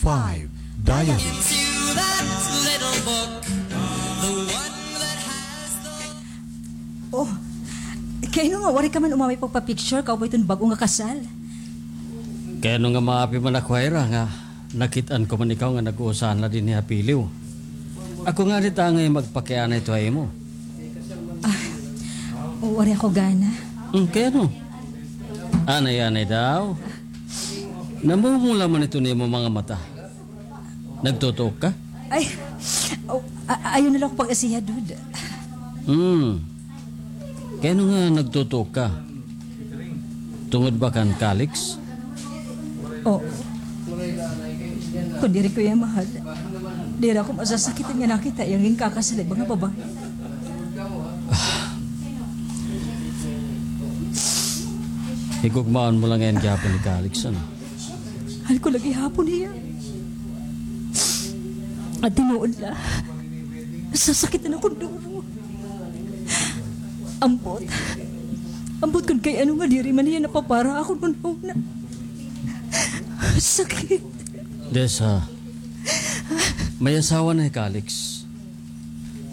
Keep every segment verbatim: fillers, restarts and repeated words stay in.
Five Diaries. Oh, kay ano nga waray ka man umamay pagpa-picture, kauban hiton bag-o nga kasal? Kay ano nga maapi man ako, Ira, nga nakit-an ko man ikaw nga nag-uusahan la dinhi ha piliw. Ako ngani it angay magpakianay to ha imo. Ah, waray ako gana. Hmm, kay ano? Anay-anay daw. Namumula man iton imo mga mata. Nagtutuok ka? Ay, oh, a- ayaw na la ako pag-asiya, Dod. Hmm. Kay ano nga nagtutuok ka? Tungod ba kan Calix? Oo. Kon diri ko hiya mahal, diri ako masasakitan nga nakita hiya nga ginkakasal ha iba nga babaye. Higugmaon mo la ngay-an gihapon hi Calix, ano? Mahal ko la gihapon hiya. An tinuod la, nasasakitan ako duro. Ambot. Ambot kon kay ano nga diri man hiya napapara ha akon hunahuna. Sakit. Dessa, may asawa na hi Calix.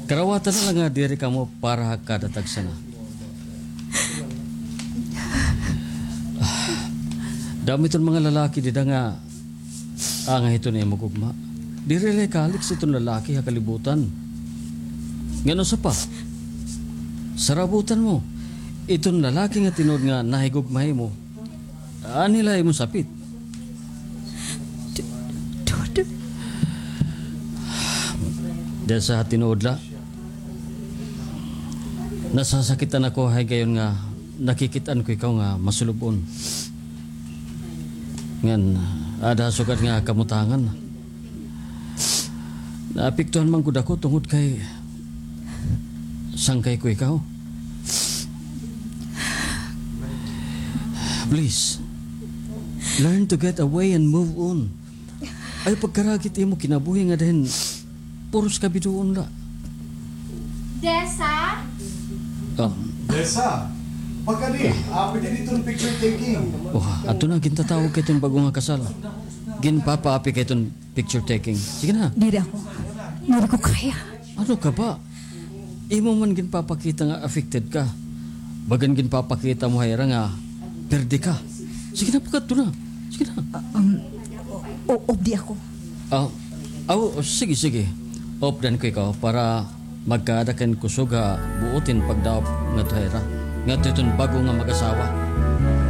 Karawatan na la nga diri kamo para ha kada tagsa na. Damo iton mga lalaki dida nga angay hiton imo gugma. Diri la hi Calix iton lalaki ha kalibutan. Ngan usa pa, sarabutan mo, iton lalaki nga tinuod nga nahigugma ha imo, Anhi la imo sapit. Dessa, ha tinuod la, nasasakitan ako ha higayon nga nakikit-an ko ikaw nga masulub-on. Ngan, aada ha sugad nga kamutangan. Naapektuhan man gud ako tungod kay sangkay ko ikaw. Please, learn to get away and move on. Ayaw pagkaragi it imo kinabuhi nga dahin puros ka biduon la. Dessa? Oh. Dessa, pakadi, api didi iton picture taking. Oh, adto na, gintatawag kay iton bag-o nga kasal. Ginpapaapi kay iton picture taking. Sige na. Diri ako. Diri ko kaya. Ano ka ba? Imo man ginpapakita nga affected ka. Bagan ginpapakita mo ha ira nga pirdi ka. Sige na, pakadto na. Sige na. Ah, um, o, o, di ako. Ah, aw, sige, sige. Updan ko ikaw para magkaada ka hin kusog ha buot hin pagdawat ngadto ha ira. Ngadto hiton bag-o nga mag-asawa.